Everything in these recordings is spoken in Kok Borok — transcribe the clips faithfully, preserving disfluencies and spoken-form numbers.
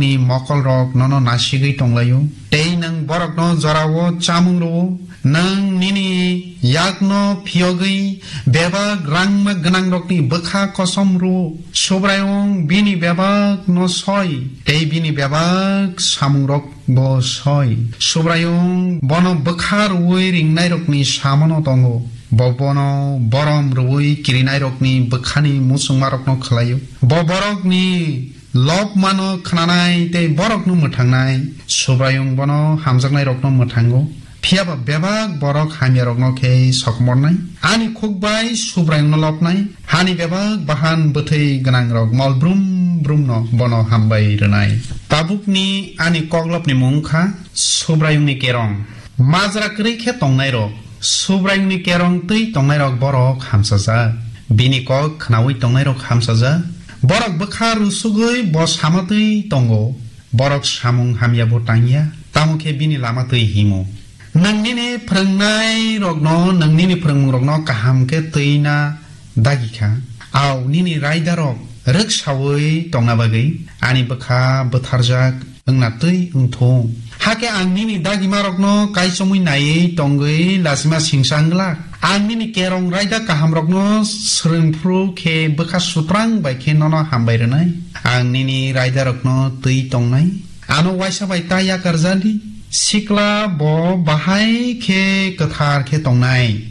ni mokolrok nono nasigwi tonglaio, tei nwng borokno jorao chamung rwo. Nwng nini yakno phiyogwi bebak rangma gwnangrokni bwkha kosom rwo. Subraiyung bini bebakno soi, tei bini bebak samungrok bo soi. Subraiyung bono bwkha rwui ringnairokni samono tongo. Bo bono borom rwui kirinairokni bwkhani muchungmarokno khlaio. Bo borokni lobmano khnanai tei borokno mwthangnai. Subraiyung bono hamjaknairokno mwthango. Phiya ba bebak borok hamyarokno khe sokomornai. Ani khuk bai Subraiyungno lobnai. Hani bebak bahan bwthwi gwnangrok mol brum brumno bono hambai rwnai. Tabukni ani koklopni mung wngkha Subraiyungni kerong. Majra kwrwi khe tongnairok, Subraiyungni kerong twi tongnairok borok hamsajak. Bini kok khnaui tongnairok hamsajak. Borok bwkha rusugwi bo sama twi tongo. Borok samung hamya bo tangya, tamo khe bini lama twi himo. Nwng nini phrwngnairokno, nwng nini phrwngmungrokno kaham khe twi na dagi kha. Au nini raidarok rwksaui tongna bagwi ani bwkha bwtharjak wngna twi wngthung. Hakhe ang nini dagimarokno kaichomwi naiwi tongwi lachima singsa wng glak. Ang nini kerong raida kahamrokno swrwng phuru khe bwkha sutrang bai khe nono hambai rwnai. Ang nini raidarokno twi tongnai. Ano waisa bai ta yakar jali. Sikla bo bahai khe kwthar khe tongnai.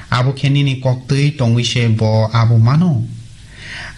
Abo khe nini koktwi tongwi se bo abo mano.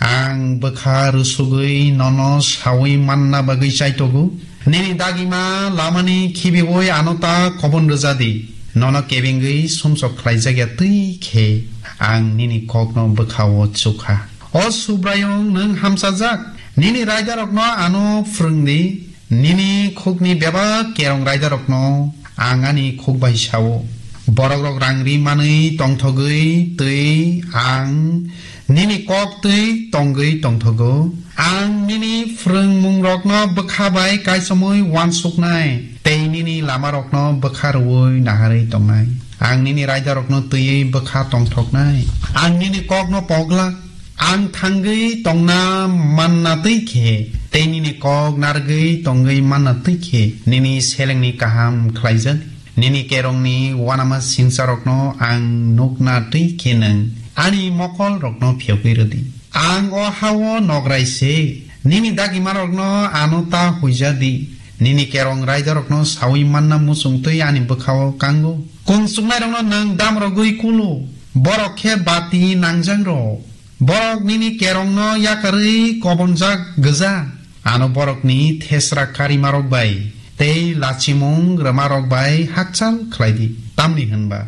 Ang bwkha rusugwi nono saui manna bagwi chaitogo. Nini dagima lamani khibiui ano ta kobon rwja di. Nono kebengwi sumsok khlaijak ya twi khe ang nini kokno bwkha-o chukha. O Subraiyung, nwng hamchajak. Nini raidarokno ano phrwng di. Nini khukni bebak kerong raidarokno ang ani khuk bai sao. Borokrok rang ri manwi tongthogwi twi ang nini kok twi tongwi tongthogo. Ang nini phrwngmungrokno bwkha bai kaichomwi uansuknai, tei nini lamarokno bwkha rwui naharwi tongnai. Ang nini raidarokno twiwi bwkha tongthoknai. Ang nini kokno poglak. Ang thangwi tongna manna twi khe, tei nini kok narwgwi tongwi manna twi khe, nini selengni kaham khlaijak. Nini kerongni uanama singsarokno ang nukna twi khe nwng ani mokolrokno phiyogwi rwdi. Ang o ha-o nograi se, nini dagimarokno ano ta huija di. Nini kerong raidarokno saui manna muchung twi ani bwkha-o kango. Kung chuknairokno nwng damrogwi kulu, borok khe bati nangjak rw. Borok nini kerongno yakarwi kobonjak gwja. Ano borokni thesra karimarok bai tei lachimung rwmarok bai hakchal khlai di. Tamni hwn ba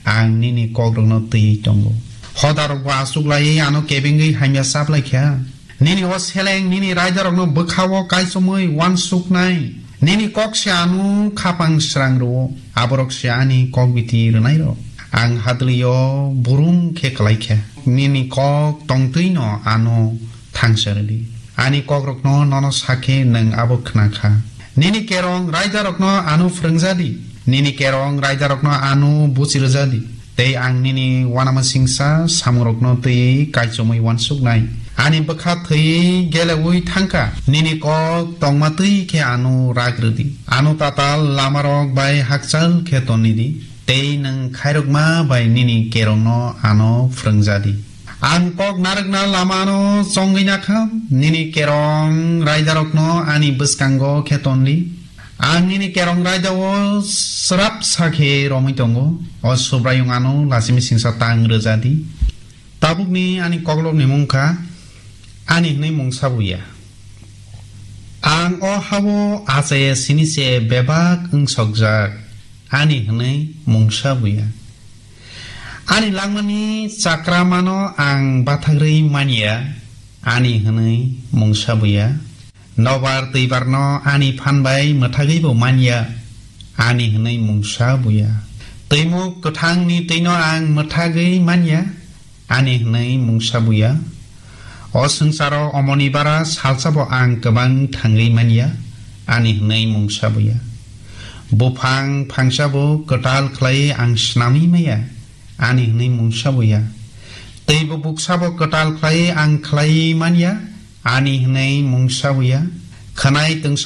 ang nini kokrokno twiwi tongo. Hodarokbo achuk laiwi ano kebengwi hamya chap lai kha. Nini o seleng nini raidarokno bwkha-o kaichomwi uansuknai. Nini kok se ano khapang srang rwo, aborok se ani kok biti rwnairok. Ang hadlwi-o burum khe klai kha. Nini kok tongtwi'-no ano thangsa rwdi. Ani kokrokno nono sa khe nwng abo khna kha. Nini kerong raidarokno ano phrwngja di. Nini kerong raidarokno ano buchi rwja di. Tei ang nini uanamasingcha samungrokno twiwi kaichomwi uansuknai. Ani bwkha thwiwi geleui thangkha. Nini kok tongma twi khe ano rak rwdi. Ano tatal lamarok bai hakchal khe tonni di. Tei nwng khairokma bai nini kerongno ano phrwngja di. Ang kok narwkna lamano chongwi nakha, nini kerong raidarokno ani bwskango khe ton di. Ang nini kerong raidao srapsa khe romwi tongo, o Subraiyung ano lachimwi singsa tang rwja di. Tabukni ani koklopni mung kha, ani hwnwi mungsa buya. Ang o ha-o achaya sini se bebak wng sokjak, ani hwnwi mungsa buya. Ani langmani chakramano ang bathagrwi manya, ani hwnwi mungsa buya. Nobar twibarno ani phan bai mwthagwi bo manya, ani hwnwi mungsa buya. Twimuk kwthangni twino ang mwthagwi manya, ani hwnwi mungsa buya. O swngcharo omoni bara salsa bo ang kwbang thangwi manya, ani hwnwi mungsa buya. Buphang phangsa bo kwtal khlai ang snamwi maya, ani hwnwi mungsa buya. Teibo buksa bo kwtal khlai ang khlai manya, ani hwnwi mungsa buya. Khwnai twngsa